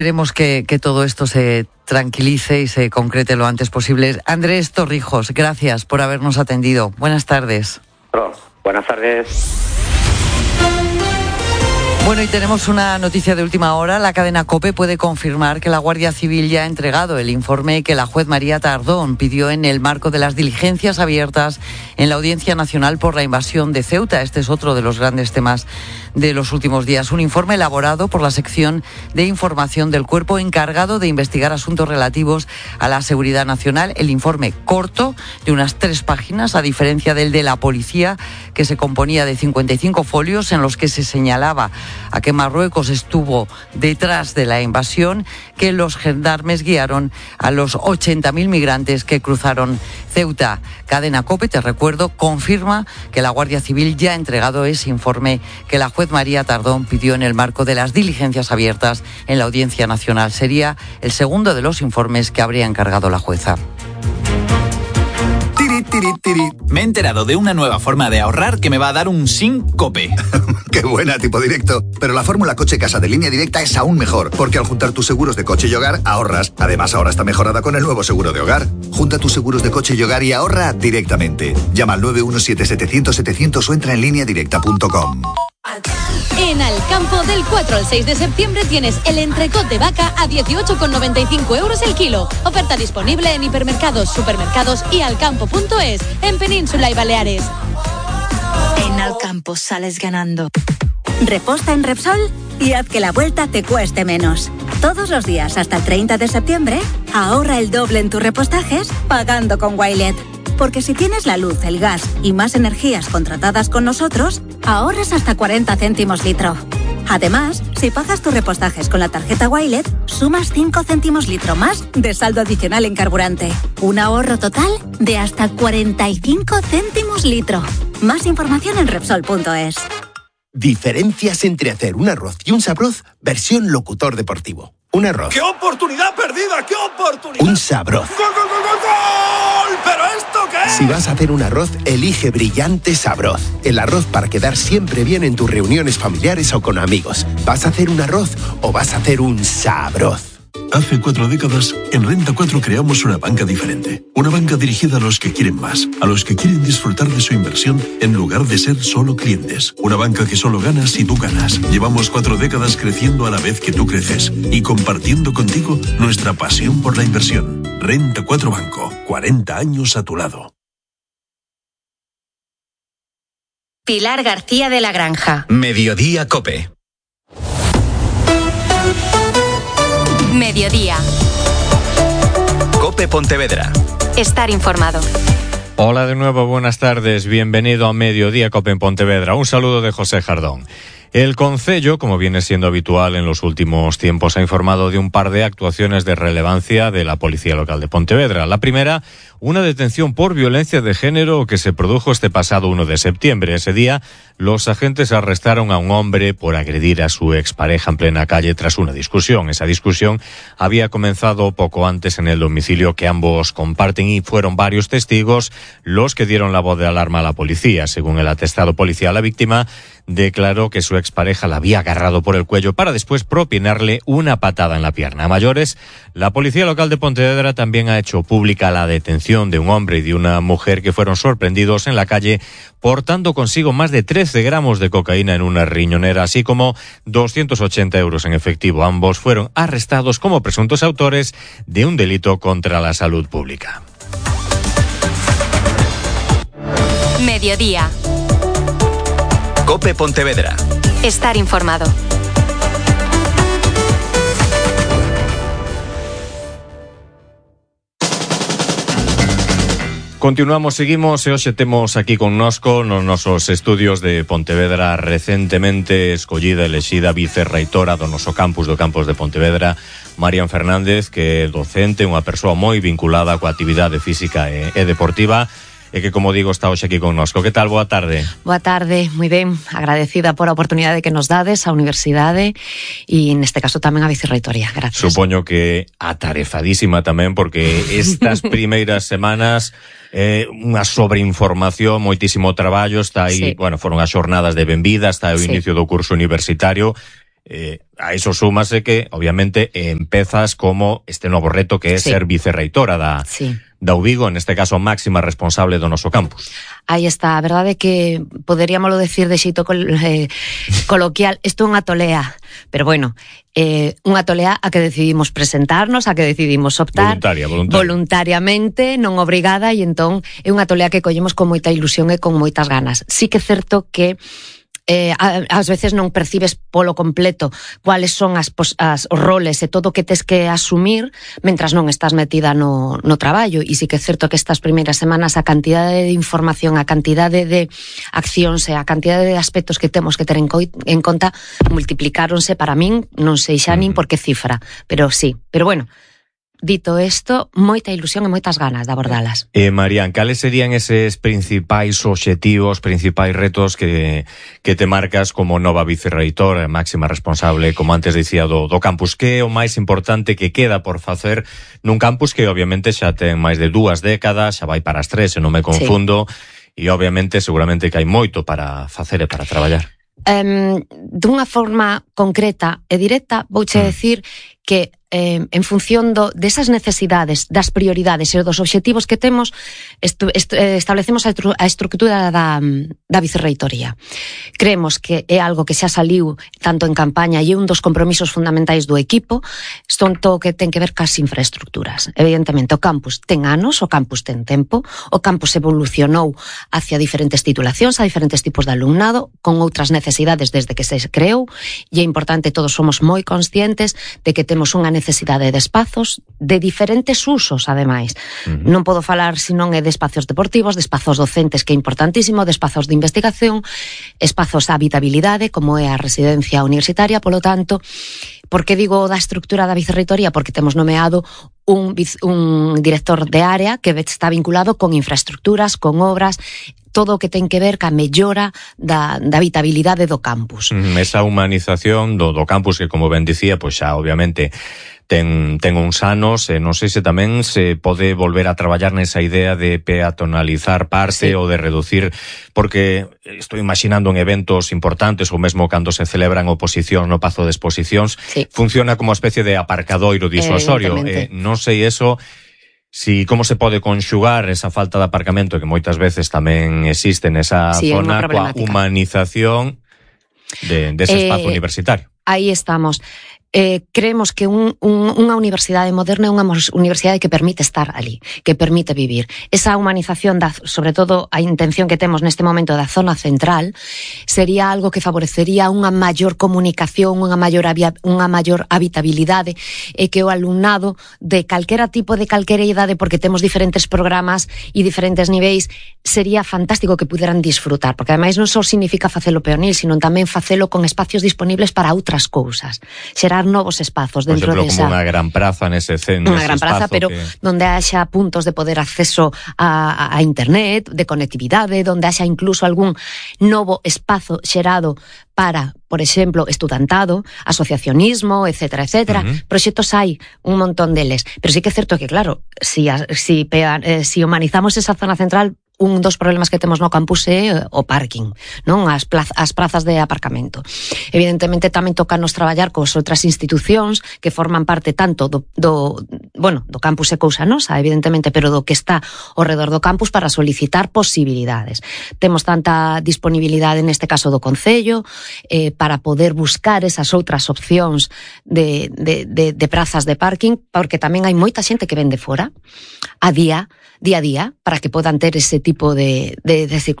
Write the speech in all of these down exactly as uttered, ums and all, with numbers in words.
Esperemos que, que todo esto se tranquilice y se concrete lo antes posible. Andrés Torrijos, gracias por habernos atendido. Buenas tardes. Oh, buenas tardes. Bueno, y tenemos una noticia de última hora. La cadena COPE puede confirmar que la Guardia Civil ya ha entregado el informe que la juez María Tardón pidió en el marco de las diligencias abiertas en la Audiencia Nacional por la invasión de Ceuta. Este es otro de los grandes temas de los últimos días. Un informe elaborado por la sección de información del cuerpo encargado de investigar asuntos relativos a la seguridad nacional. El informe corto, de unas tres páginas, a diferencia del de la policía, que se componía de cincuenta y cinco folios en los que se señalaba a que Marruecos estuvo detrás de la invasión, que los gendarmes guiaron a los ochenta mil migrantes que cruzaron Ceuta. Cadena COPE, te recuerdo, confirma que la Guardia Civil ya ha entregado ese informe que la juez María Tardón pidió en el marco de las diligencias abiertas en la Audiencia Nacional. Sería el segundo de los informes que habría encargado la jueza. Tiri, tiri. Me he enterado de una nueva forma de ahorrar que me va a dar un síncope. ¡Qué buena, tipo directo! Pero la fórmula coche-casa de Línea Directa es aún mejor, porque al juntar tus seguros de coche y hogar, ahorras. Además, ahora está mejorada con el nuevo seguro de hogar. Junta tus seguros de coche y hogar y ahorra directamente. Llama al nueve uno siete siete cero cero siete cero cero o entra en línea directa punto com. En Alcampo, del cuatro al seis de septiembre tienes el entrecot de vaca a dieciocho con noventa y cinco euros el kilo. Oferta disponible en hipermercados, supermercados y alcampo punto es, en Península y Baleares. En Alcampo sales ganando. Reposta en Repsol y haz que la vuelta te cueste menos. Todos los días hasta el treinta de septiembre, ahorra el doble en tus repostajes pagando con Wilet. Porque si tienes la luz, el gas y más energías contratadas con nosotros, ahorras hasta cuarenta céntimos litro. Además, si pagas tus repostajes con la tarjeta Wilet, sumas cinco céntimos litro más de saldo adicional en carburante. Un ahorro total de hasta cuarenta y cinco céntimos litro. Más información en Repsol punto es. Diferencias entre hacer un arroz y un sabroz versión locutor deportivo. Un arroz. ¡Qué oportunidad perdida! ¡Qué oportunidad! Un sabroz. ¡Gol, gol, gol, gol, gol! ¿Pero esto qué es? Si vas a hacer un arroz, elige Brillante Sabroz. El arroz para quedar siempre bien en tus reuniones familiares o con amigos. ¿Vas a hacer un arroz o vas a hacer un sabroz? Hace cuatro décadas, en Renta cuatro creamos una banca diferente. Una banca dirigida a los que quieren más, a los que quieren disfrutar de su inversión en lugar de ser solo clientes. Una banca que solo gana si tú ganas. Llevamos cuatro décadas creciendo a la vez que tú creces y compartiendo contigo nuestra pasión por la inversión. Renta cuatro Banco, cuarenta años a tu lado. Pilar García de la Granja. Mediodía COPE. Mediodía. COPE Pontevedra. Estar informado. Hola de nuevo, buenas tardes. Bienvenido a Mediodía COPE en Pontevedra. Un saludo de José Jardón. El Concello, como viene siendo habitual en los últimos tiempos, ha informado de un par de actuaciones de relevancia de la Policía Local de Pontevedra. La primera, una detención por violencia de género que se produjo este pasado uno de septiembre. Ese día, los agentes arrestaron a un hombre por agredir a su expareja en plena calle tras una discusión. Esa discusión había comenzado poco antes en el domicilio que ambos comparten y fueron varios testigos los que dieron la voz de alarma a la policía. Según el atestado policial, la víctima declaró que su expareja la había agarrado por el cuello para después propinarle una patada en la pierna. A mayores, la Policía Local de Pontevedra también ha hecho pública la detención de un hombre y de una mujer que fueron sorprendidos en la calle portando consigo más de trece gramos de cocaína en una riñonera, así como doscientos ochenta euros en efectivo. Ambos fueron arrestados como presuntos autores de un delito contra la salud pública. Mediodía. COPE Pontevedra. Estar informado. Continuamos, seguimos e hoxe temos aquí connosco nos nosos estudios de Pontevedra recentemente escollida, elexida vicerreitora do noso campus do campus de Pontevedra, Marian Fernández, que é docente, unha persoa moi vinculada coa actividade física e, e deportiva, e que, como digo, está hoxe aquí connosco. Que tal? Boa tarde. Boa tarde, moi ben, agradecida por a oportunidade que nos dades á universidade e neste caso tamén á vicerreitoría. Gracias. Supoño que atarefadísima tamén, porque estas primeiras semanas eh, unha sobreinformación, moitísimo traballo, está aí, sí. Bueno, foron as xornadas de benvida, está o sí. inicio do curso universitario. Eh, a iso súmase que, obviamente, empezas como este novo reto que é sí. ser vicerreitora da, sí. da U Vigo, neste caso máxima responsable do noso campus. Aí está, a verdade é que poderíamoslo decir de xeito col, eh, coloquial, isto é unha tolea, pero bueno, eh, unha tolea a que decidimos presentarnos, a que decidimos optar voluntaria, voluntaria. voluntariamente, non obrigada, e entón é unha tolea que collemos con moita ilusión e con moitas ganas. Sí que é certo que Eh, ás veces non percibes polo completo cuáles son as, as os roles e todo o que tes que asumir mentras non estás metida no, no traballo, e sí que é certo que estas primeiras semanas a cantidade de información, a cantidade de accións e a cantidade de aspectos que temos que ter en, coi, en conta multiplicáronse para min, non sei xa nin por que cifra, pero sí, pero bueno. Dito isto, moita ilusión e moitas ganas de abordalas. Eh, Marián, cales serían eses principais obxectivos, principais retos que, que te marcas como nova vicerreitora, máxima responsable, como antes dicía, do, do campus? Que é o máis importante que queda por facer nun campus que obviamente xa ten máis de dúas décadas, xa vai para as tres, se non me confundo, sí. E obviamente seguramente que hai moito para facer e para traballar. Um, dunha forma concreta e directa, vouche mm. decir que eh, en función do, desas necesidades, das prioridades e dos obxectivos que temos, estu, est, establecemos a, estru, a estructura da, da vicerreitoría. Creemos que é algo que xa saliu tanto en campaña e é un dos compromisos fundamentais do equipo, son todo que ten que ver cas infraestructuras. Evidentemente, o campus ten anos, o campus ten tempo, o campus evolucionou hacia diferentes titulacións, a diferentes tipos de alumnado, con outras necesidades desde que se creou, e é importante, todos somos moi conscientes de que temos unha necesidade de espazos de diferentes usos, ademais. Uh-huh. Non podo falar senón é de espazos deportivos, de espazos docentes, que é importantísimo, de espazos de investigación, espazos de habitabilidade, como é a residencia universitaria. Polo tanto, por que digo da estructura da vicerreitoría? Porque temos nomeado un, un director de área que está vinculado con infraestructuras, con obras, todo o que ten que ver ca mellora da, da habitabilidade do campus. Esa humanización do, do campus que, como ben dicía, pois xa obviamente ten, ten uns anos, e non sei se tamén se pode volver a traballar nesa idea de peatonalizar parte, sí. ou de reducir, porque estou imaginando en eventos importantes ou mesmo cando se celebran oposicións no Pazo de Exposicións, sí. funciona como uma especie de aparcadoiro disuasorio. Eh, non sei eso... Si, como se pode conxugar esa falta de aparcamento que moitas veces tamén existe nesa sí, zona coa humanización de, de ese eh, espazo universitario. Aí estamos. Eh, creemos que un, un, unha universidade moderna é unha universidade que permite estar ali, que permite vivir. Esa humanización, da, sobre todo a intención que temos neste momento da zona central, sería algo que favorecería unha maior comunicación, unha maior, unha maior habitabilidade, e que o alumnado de calquera tipo, de calquera idade, porque temos diferentes programas e diferentes niveis, sería fantástico que puderan disfrutar, porque ademais non só significa facelo peonil, sino tamén facelo con espacios disponibles para outras cousas. Xerar novos espazos dentro de esa... como unha gran praza nese centro. Unha gran praza, pero que... donde haxa puntos de poder acceso a, a, a internet, de conectividade, donde haxa incluso algún novo espazo xerado para, por exemplo, estudantado, asociacionismo, etcétera, etcétera. Uh-huh. Proxectos hai un montón deles. Pero sí que é certo que, claro, si, si, eh, si humanizamos esa zona central, un dos problemas que temos no campus é o parking, non? As, plaz, as prazas de aparcamento. Evidentemente tamén toca nos traballar cos outras institucións que forman parte tanto do, do, bueno, do campus é cousa nosa, evidentemente, pero do que está ao redor do campus para solicitar posibilidades. Temos tanta disponibilidade neste caso do Concello eh, para poder buscar esas outras opcións de, de, de, de prazas de parking, porque tamén hai moita xente que vende fora a día, día a día, para que podan ter ese tipo de, de, de, de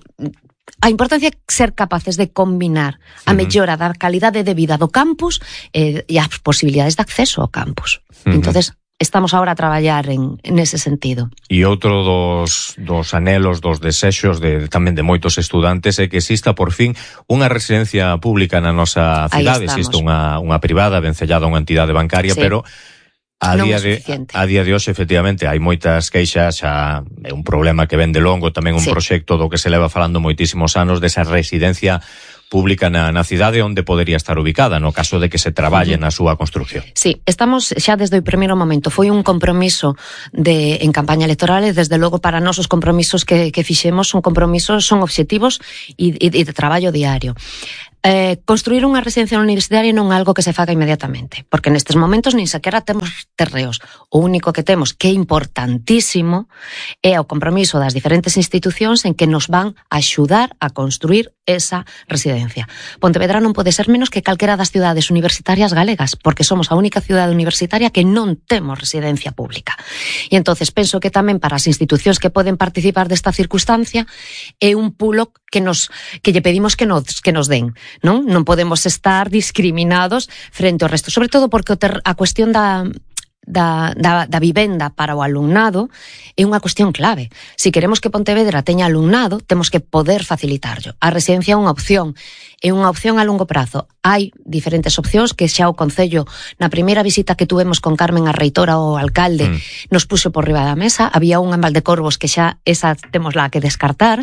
a importancia é ser capaces de combinar a mellora da calidade de vida do campus eh, e as posibilidades de acceso ao campus. Uh-huh. Entonces, estamos agora a traballar en, en ese sentido. E outro dos, dos anhelos, dos desexos de, tamén de moitos estudantes é que exista por fin unha residencia pública na nosa cidade. Existe unha, unha privada vencellada a unha entidade bancaria, sí. pero a día, de, a día de hoxe, efectivamente, hai moitas queixas, xa é un problema que ven de longo, tamén un sí. proxecto do que se leva falando moitísimos anos desa residencia pública na, na cidade onde podería estar ubicada, no caso de que se traballe uh-huh. na súa construcción. Sí, estamos xa desde o primeiro momento. Foi un compromiso de, en campaña electoral e desde logo para nós os compromisos que, que fixemos son compromisos, son obxectivos e, e, e de traballo diario. Eh, construir unha residencia universitaria non é algo que se faga inmediatamente, porque nestes momentos nin sequera temos terreos. O único que temos, que é importantísimo, é o compromiso das diferentes institucións en que nos van a axudar a construir esa residencia. Pontevedra non pode ser menos que calquera das cidades universitarias galegas, porque somos a única cidade universitaria que non temos residencia pública. E entonces penso que tamén para as institucións que poden participar desta circunstancia é un pulo que nos que lle pedimos que nos que nos den. Non? Non podemos estar discriminados frente ao resto, sobre todo porque o ter, a cuestión da Da, da, da vivenda para o alumnado é unha cuestión clave. Se queremos que Pontevedra teña alumnado, temos que poder facilitarlo. A residencia é unha opción, é unha opción a longo prazo. Hai diferentes opcións que xa o Concello, na primeira visita que tuvemos con Carmen a reitora ou alcalde, mm. nos puxo por riba da mesa. Había unha en Valdecorvos que xa esa temos lá que descartar,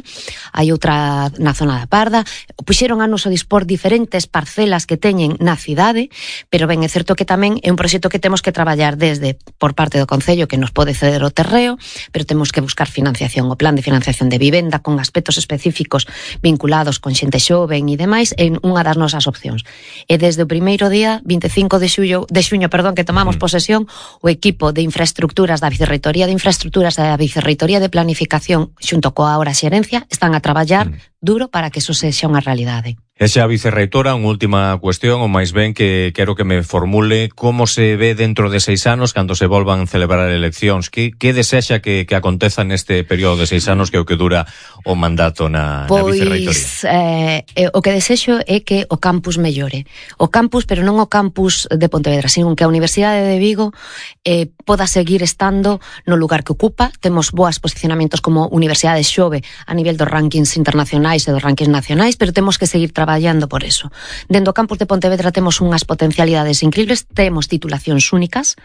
hai outra na zona da Parda. Puxeron a noso dispor diferentes parcelas que teñen na cidade, pero ben, é certo que tamén é un proxecto que temos que traballar de desde por parte do Concello que nos pode ceder o terreo, pero temos que buscar financiación. O plan de financiación de vivenda con aspectos específicos vinculados con xente xoven e demais é unha das nosas opcións. E desde o primeiro día, vinte e cinco de xullo, de xuño, perdón, que tomamos posesión, o equipo de infraestructuras da Vicerreitoría de Infraestructuras e da Vicerreitoría de Planificación xunto coa ahora xerencia están a traballar duro para que eso sexa unha realidade. E xa, vicerreitora, unha última cuestión, ou máis ben que quero que me formule como se ve dentro de seis anos cando se volvan celebrar eleccións. Que, que desexa que, que aconteza neste período de seis anos que é o que dura o mandato na, pois, na vicerreitoría? Eh, o que desexo é que o campus mellore. O campus, pero non o campus de Pontevedra, sino que a Universidade de Vigo eh, poda seguir estando no lugar que ocupa. Temos boas posicionamentos como Universidade Xove a nivel dos rankings internacionais e dos rankings nacionais, pero temos que seguir traballando traballando por eso. Dentro do campus de Pontevedra temos unhas potencialidades increíbles, temos titulacións únicas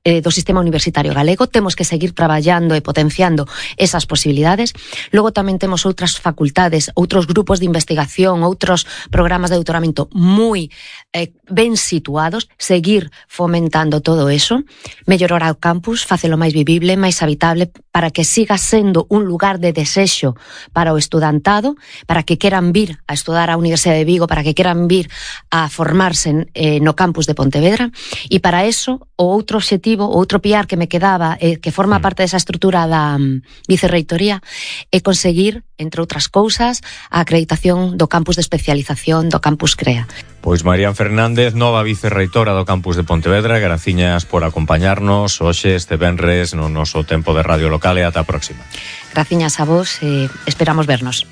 eh, do sistema universitario galego, temos que seguir traballando e potenciando esas posibilidades. Logo tamén temos outras facultades, outros grupos de investigación, outros programas de doutoramento moi eh, ben situados, seguir fomentando todo eso, mellorar o campus, facelo máis vivible, máis habitable, para que siga sendo un lugar de desexo para o estudantado, para que queran vir a estudar a Universidade de Vigo, para que queran vir a formarse eh, no campus de Pontevedra. E para eso, o outro obxectivo, o outro piar que me quedaba, eh, que forma parte desa estrutura da um, vicerreitoría, é conseguir, entre outras cousas, a acreditación do campus de especialización do campus CREA. Pois Marian Fernández, nova vicerreitora do campus de Pontevedra, graciñas por acompañarnos hoxe este venres no noso tempo de radio local e ata a próxima. Graciñas a vos e esperamos vernos.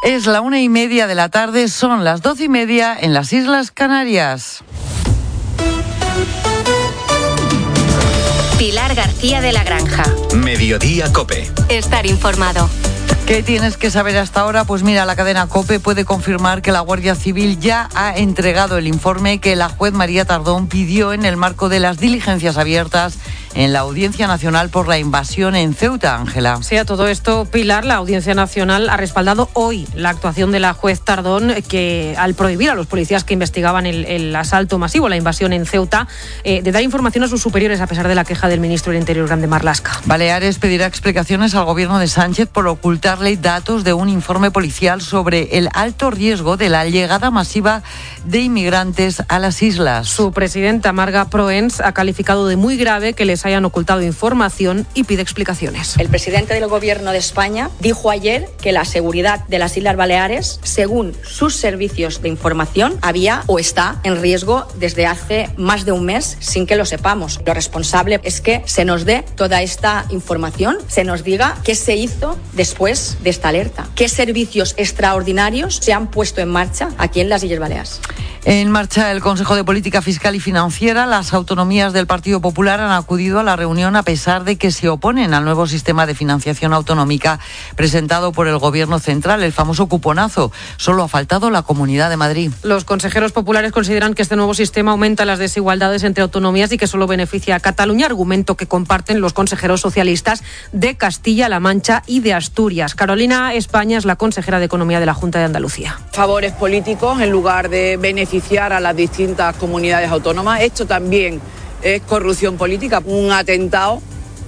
Es la una y media de la tarde, son las doce y media en las Islas Canarias. Pilar García de la Granja. Mediodía COPE. Estar informado. ¿Qué tienes que saber hasta ahora? Pues mira, la cadena COPE puede confirmar que la Guardia Civil ya ha entregado el informe que la juez María Tardón pidió en el marco de las diligencias abiertas en la Audiencia Nacional por la invasión en Ceuta, Ángela. Sí, a todo esto, Pilar, la Audiencia Nacional ha respaldado hoy la actuación de la juez Tardón, que al prohibir a los policías que investigaban el, el asalto masivo, la invasión en Ceuta, eh, de dar información a sus superiores a pesar de la queja del ministro del Interior, Grande Marlaska. Baleares pedirá explicaciones al gobierno de Sánchez por ocultarle datos de un informe policial sobre el alto riesgo de la llegada masiva de inmigrantes a las islas. Su presidenta, Marga Proens, ha calificado de muy grave que les hayan ocultado información y pide explicaciones. El presidente del Gobierno de España dijo ayer que la seguridad de las Islas Baleares, según sus servicios de información, había o está en riesgo desde hace más de un mes sin que lo sepamos. Lo responsable es que se nos dé toda esta información, se nos diga qué se hizo después de esta alerta, qué servicios extraordinarios se han puesto en marcha aquí en las Islas Baleares. En marcha el Consejo de Política Fiscal y Financiera. Las autonomías del Partido Popular han acudido a la reunión a pesar de que se oponen al nuevo sistema de financiación autonómica presentado por el Gobierno central, el famoso cuponazo. Solo ha faltado la Comunidad de Madrid. Los consejeros populares consideran que este nuevo sistema aumenta las desigualdades entre autonomías y que solo beneficia a Cataluña, argumento que comparten los consejeros socialistas de Castilla-La Mancha y de Asturias. Carolina España es la consejera de Economía de la Junta de Andalucía. Favores políticos en lugar de beneficiar a las distintas comunidades autónomas. Esto también es corrupción política, un atentado,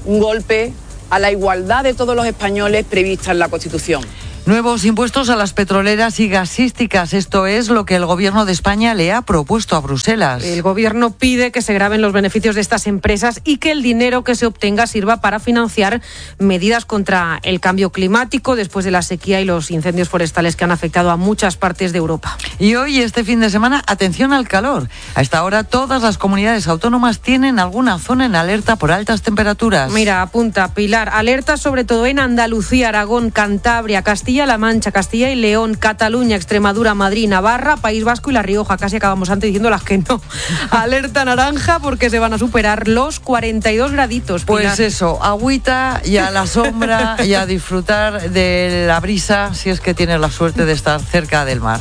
un golpe a la igualdad de todos los españoles prevista en la Constitución. Nuevos impuestos a las petroleras y gasísticas. Esto es lo que el Gobierno de España le ha propuesto a Bruselas. El Gobierno pide que se graven los beneficios de estas empresas y que el dinero que se obtenga sirva para financiar medidas contra el cambio climático después de la sequía y los incendios forestales que han afectado a muchas partes de Europa. Y hoy, este fin de semana, atención al calor. A esta hora, todas las comunidades autónomas tienen alguna zona en alerta por altas temperaturas. Mira, apunta, Pilar, alerta sobre todo en Andalucía, Aragón, Cantabria, Castilla Castilla-La Mancha, Castilla y León, Cataluña, Extremadura, Madrid, Navarra, País Vasco y La Rioja. Casi acabamos antes diciendo las que no. Alerta naranja porque se van a superar los cuarenta y dos graditos. Pilar. Pues eso, agüita y a la sombra y a disfrutar de la brisa si es que tienes la suerte de estar cerca del mar.